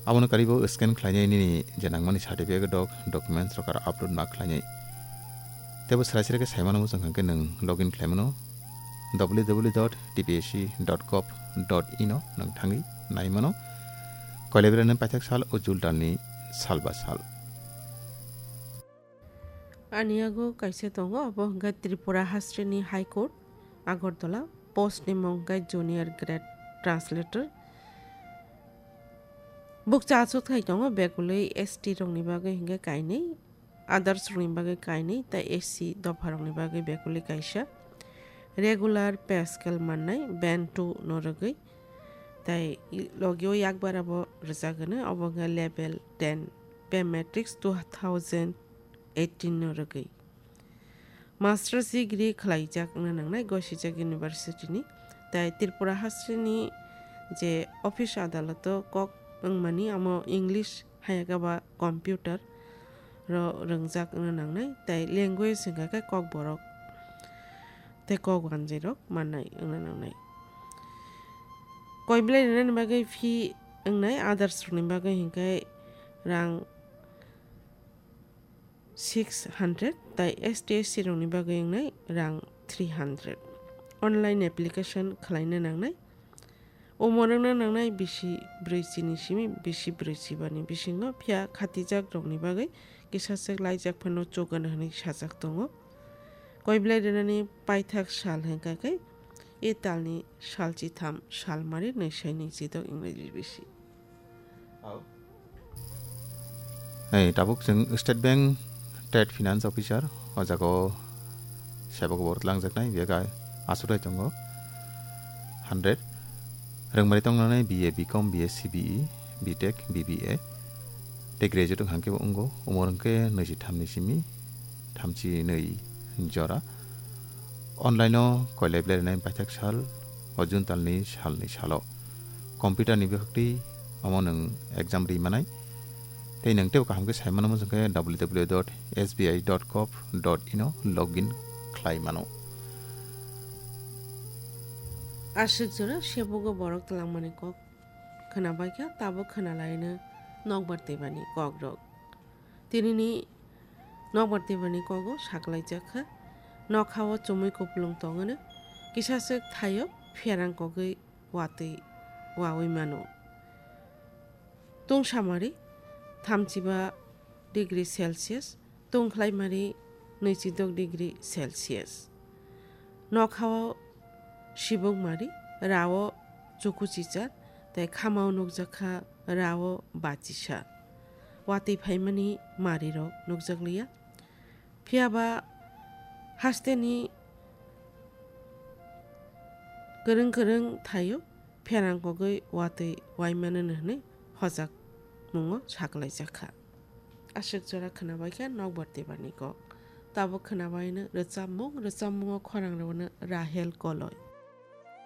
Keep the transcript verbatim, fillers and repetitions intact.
Abono karwi bo scan khlainai nini je nangmani certificate rok, documents rok aro upload ma khlainai. Teibo srai srai khe saimano muchung hwnkhe nwng login khlaimano www.tpsc.gov.in o nwng thangwi naimano. Koilai belai nini paithak sal o Jul talni sal ba sal. Ani yago kaisa tongo, abo hwnkhe Tripura hasteni High Court, Agartala, post ni mung khe Junior Grade Translator. Bukcha achuk thai tongo, begulwi S T rokni bagwi hwnkhe kainwi, others rokni bagwi kainwi, tei S C dopha rokni bagwi begulwi kaisa. Regular pay scale mannai, band two no rwgwi, tei logio yakbar abo rwjak hwno, obo hwnkhe level ten, pay matrix two thousand eighteen no rwgwi. Masters degree khwlaijak wngna nangnai Gosijak University ni. Tai Tripura hasteni je office adaloto kok wngmani amo English hayakaba computer ro rwngjak wngna nangnai. Tai language hwnkha khe Kokborok tei Kokwanjwi rok mannai wngna nangnai. Koiblai rwnani bagwi fee wngnai others rokni bagwi hwnkhe rang six hundred, tai S T S C rokni bagwi wngnai rang three hundred. Online application khwlaina nangnai. Umor wngna nangnai bisi brwichi ni simi bisi brwichi bani bisingo, phiya khatijak rokni bagwi kisa swk laijak phano chugan hwnwi sajak tongo. Koiblai rwnani paithak sal hwnkha khe e talni sal chitham sal mari nwi sai nwi chidok English bisi. Ei, tabuk chwng State Bank Trade Finance Officer, o jaga o sebok bo twlangjaknai, biyag aswk tongo, hundred. Rwngmani tongnai B A, B Com, B S C, B E, B Tech, B B A, tei graduate wngkha khe bo wngo, umor hwnkhe nwi chi tham ni simi thamchi nwi jora. Online o koilai belai rwnai paithak sal, o June talni salni salo. Computer ni bwkhaktwi omo nwng exam ri manai. Tei nwng teibo kaham khe sai mano muchung khe www.sbi.gov.in o login khlai mano. Aswk jora sebogo borok twlangmani kok khwnabaikha, tabuk khwnalaino nokbar twibani kokrok. Tinini nokbar twibani kogo saklaijak kha. Nokha o chumui kupulung tongwino, kisa swk thaio pherang kogwi watwi wawi mano. Tungsamari thamchiba degree Celsius, tungkhlaimari nwichidok degree Celsius. Nokha o sibuk mari, rao chukuchicha, tei khama o nukjakha rao bachisa. Watwi phaimani marirok nukjakliya. Phiyaba hasteni kwrwng kwrwng thaio pherang kogwi watwi waimano hwnwi hojak mungo saklaijak kha. Aswk jora khwnabaikha nokbar twibani kok. Tabuk khwnabaino rwchapmung, rwchapmungo khorang rwno Rahel Koloi.